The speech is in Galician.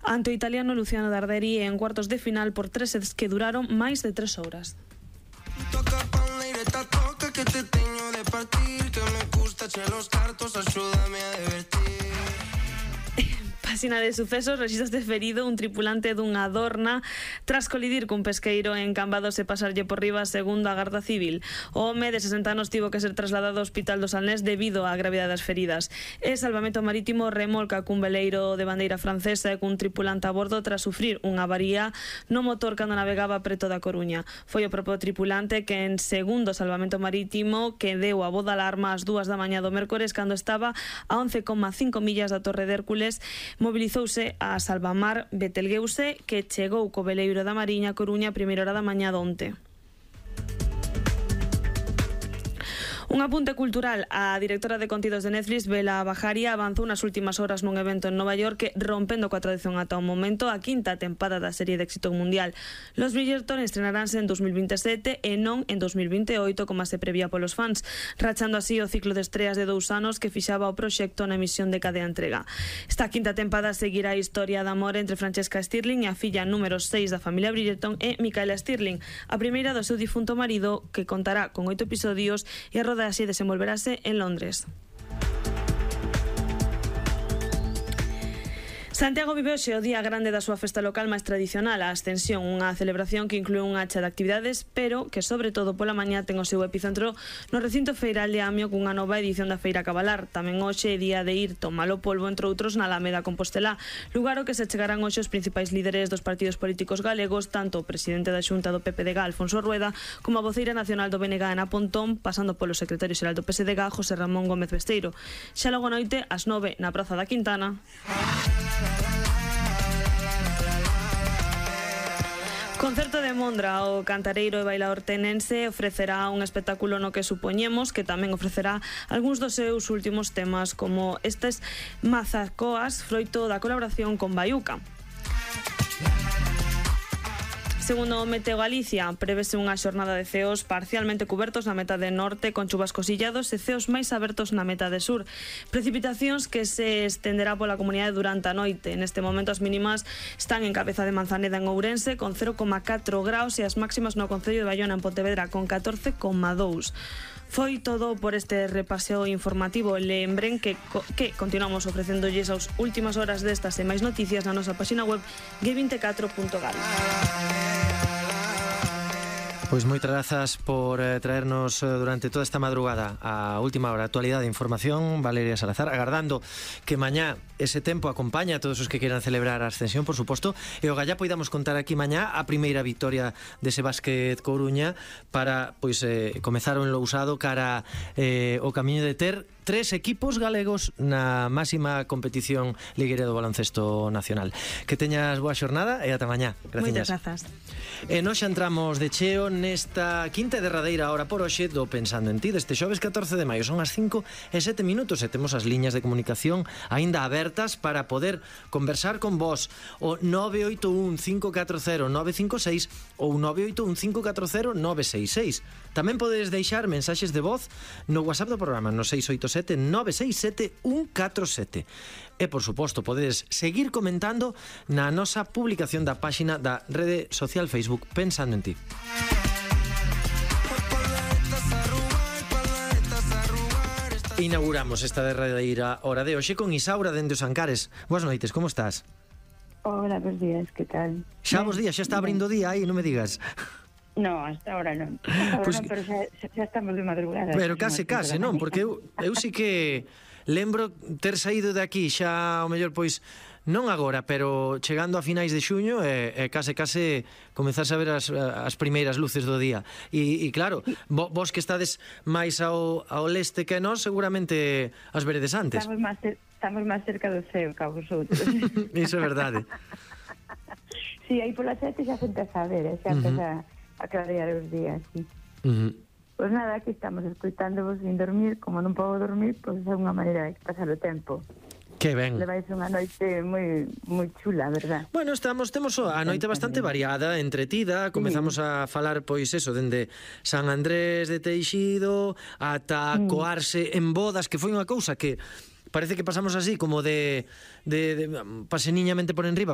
ante o italiano Luciano Darderi en cuartos de final por 3 sets que duraron máis de 3 horas. Que te teño de partir, que me gusta che los cartos, axúdame a divertir. Páxina de sucesos, rexístrase ferido un tripulante dunha Dorna tras colidir cun pesqueiro en Cambados e pasarlle por riba segundo a Garda Civil. O home de 60 anos tivo que ser trasladado ao Hospital do Salnés debido á gravidade das feridas. E Salvamento Marítimo remolca cun veleiro de bandeira francesa e cun tripulante a bordo tras sufrir unha avaría no motor cando navegaba preto da Coruña. Foi o propio tripulante que, en segundo Salvamento Marítimo, que deu a voz de alarma ás 2 da mañá do mércores cando estaba a 11,5 millas da Torre de Hércules. Mobilizouse a Salvamar Betelgeuse, que chegou co veleiro da Mariña Coruña a primeira hora da mañá de onte. Un apunte cultural. A directora de contidos de Netflix, Bela Bajaria, avanzou nas últimas horas nun evento en Nova York rompendo coa tradición ata o momento a quinta tempada da serie de éxito mundial. Los Bridgerton estrenaránse en 2027 e non en 2028 como se prevía polos fans, rachando así o ciclo de estreas de 2 anos que fixaba o proxecto na emisión de cada entrega. Esta quinta tempada seguirá a historia de amor entre Francesca Stirling e a filla número 6 da familia Bridgerton e Micaela Stirling, a primeira do seu difunto marido, que contará con 8 episodios e a así desenvolverase en Londres. Santiago vive hoxe o día grande da súa festa local máis tradicional, a Ascensión, unha celebración que inclúe unha acha de actividades, pero que sobre todo pola mañá ten o seu epicentro no recinto feiral de Amio cunha nova edición da Feira Cabalar. Tamén hoxe é día de ir tomar o polvo, entre outros, na Alameda Compostelá, lugar ao que se chegarán hoxe os principais líderes dos partidos políticos galegos, tanto o presidente da Xunta do PPDG, Alfonso Rueda, como a voceira nacional do BNG, Ana Pontón, pasando polo secretario xeral do PSDG, José Ramón Gómez Besteiro. Xa logo noite, ás 9, na Praza da Quintana. Concerto de Mondra. O cantareiro e bailador tenense ofrecerá un espectáculo no que supoñemos que tamén ofrecerá algúns dos seus últimos temas, como estes Mazacoas, froito da colaboración con Baiuca. Segundo Meteo Galicia, prevese unha xornada de ceos parcialmente cubertos na metade norte con chuvascos illados e ceos máis abertos na metade sur. Precipitacións que se estenderá pola comunidade durante a noite. Neste momento as mínimas están en Cabeza de Manzaneda en Ourense con 0,4 graus e as máximas no concello de Baiona en Pontevedra con 14,2. Foi todo por este repaseo informativo. Lembren que continuamos ofrecéndolles as últimas horas destas e máis noticias na nosa página web g24.gal. Pois moitas grazas por traernos durante toda esta madrugada a última hora actualidade e información, Valeria Salazar, agardando que mañá ese tempo acompaña a todos os que queran celebrar a Ascensión, por suposto, e o gallá poidamos contar aquí mañá a primeira victoria dese Básquet Coruña para pois comezar o enlousado cara o camiño de ter 3 equipos galegos na máxima competición ligueira do baloncesto nacional. Que teñas boa xornada e ata mañá. Moitas grazas. E nós xa entramos de cheo nesta quinta e derradeira hora por hoxe do Pensando en Ti deste xoves 14 de maio. Son as 5:07 e temos as liñas de comunicación aínda abertas para poder conversar con vos. O 981 540 956 ou 981 540 966. Tamén podes deixar mensaxes de voz no WhatsApp do programa no 687 967 147. E, por suposto, podedes seguir comentando na nosa publicación da páxina da rede social Facebook Pensando en Ti. Inauguramos esta derradeira hora de hoxe con Isaura dende os Ancares. Boas noites, como estás? Hola, bons días, que tal? Xa bons días, xa está abrindo o día aí, non me digas. No, hasta ahora non. Pues, pero xa estamos de madrugada. Pero case, non? Porque eu sí que lembro ter saído de aquí xa, ao mellor, pois, non agora, pero chegando a finais de xuño case comezarse a ver as primeiras luces do día. E claro, vos que estades máis ao leste que nós, seguramente as veredes antes. Estamos máis cerca do ceo que a vosotros. Iso é verdade. Sí, aí pola sete xa se empeza a ver, xa empeza a clarear os días, sí. Pois nada, aquí estamos escutándovos sin dormir. Como non podo dormir, pois é unha maneira de pasar o tempo. Que ben. Levais unha noite moi chula, verdad? Bueno, temos a noite bastante variada, entretida. Comezamos a falar, pois eso, dende San Andrés de Teixido ata coarse en bodas, que foi unha cousa que parece que pasamos así como de paseniñamente por enriba,